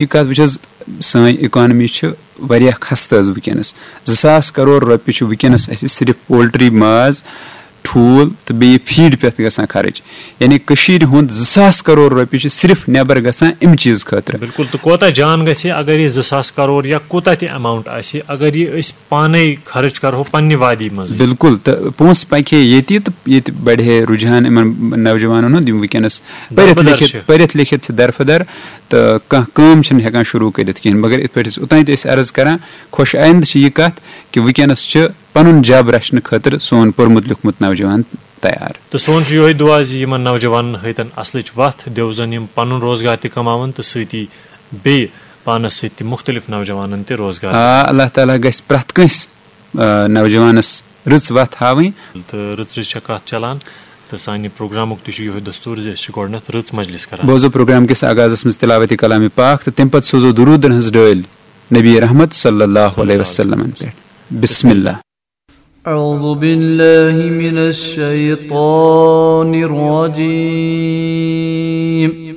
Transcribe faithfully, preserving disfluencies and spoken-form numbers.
یہِ کَتھ وٕچھ حظ، سٲنۍ اِکانمی چھِ واریاہ خستہٕ حظ وٕنکیٚنَس۔ زٕ ساس کَرور رۄپیہِ چھِ وٕنکیٚنَس اَسہِ صرف پولٹری، ماز، ٹھوٗل تہٕ بیٚیہِ فیٖڈ پٮ۪ٹھ گژھان خرٕچ۔ یعنی کٔشیٖرِ ہُنٛد زٕ ساس کَرور رۄپیہِ چھِ صرف نٮ۪بر گژھان اَمہِ چیٖز خٲطرٕ۔ بِلکُل۔ تہٕ کوتاہ جان گژھِ، اگر یہِ زٕ ساس کَرور یا کوٗتاہ تہِ ایماوُنٛٹ آسہِ، اگر یہِ أسۍ پانَے خرٕچ کَرہو پنٛنہِ وادی منٛز۔ بِلکُل۔ تہٕ پونٛسہٕ پَکہِ ہے ییٚتی تہٕ ییٚتہِ بَڑِ ہے رُجحان یِمَن نوجوانَن ہُنٛد، یِم وٕنکیٚنَس پٔرِتھ دربٕدر لیکھِتھ چھِ۔ پٔرِتھ لیکھِتھ چھِ درفٕدر، تہٕ کانٛہہ کٲم چھِنہٕ ہٮ۪کان شروٗع کٔرِتھ کِہیٖنۍ۔ مگر یِتھ پٲٹھۍ أسۍ اوٚتانۍ تہِ ٲسۍ عرض کَران، خۄش آیِندٕ چھِ یہِ کَتھ کہِ وٕنکیٚنَس چھِ پَنُن جَب رَچھنہٕ خٲطرٕ سون پوٚرمُت لیوٚکھمُت نوجوان تیار۔ تہٕ سون چھُ یِہوٚے دُعا زِ یِمَن نوجوانَن ہٲیتَن اَصلٕچ وَتھ، دیوزَن یِم پَنُن روزگار تہِ کَماوَن تہٕ سۭتی بیٚیہِ پانَس سۭتۍ تہِ مُختلِف نوجوانَن تہِ روزگار۔ آ، اللہ تعالیٰ گژھِ پرٛٮ۪تھ کٲنٛسہِ، آ، نوجوانَس رٕژ وَتھ ہاوٕنۍ۔ تہٕ رٕژ رٕژ چھےٚ کَتھ چَلان، تہٕ سانہِ پروگرامُک تہِ چھُ یِہوٚے دستوٗر زِ أسۍ چھِ گۄڈٕنٮ۪تھ رٕژ مجلس کران۔ بوزو پروگرام کِس آغازَس منٛز تلاوت کلام پاک تہٕ تَمہِ پتہٕ سوزو درودن ہٕنٛز ڈٲلۍ نبی رحمت صلی اللہ علیہ وسلمن پٮ۪ٹھ۔ بسم اللہ۔ أعوذ بالله من الشيطان الرجيم.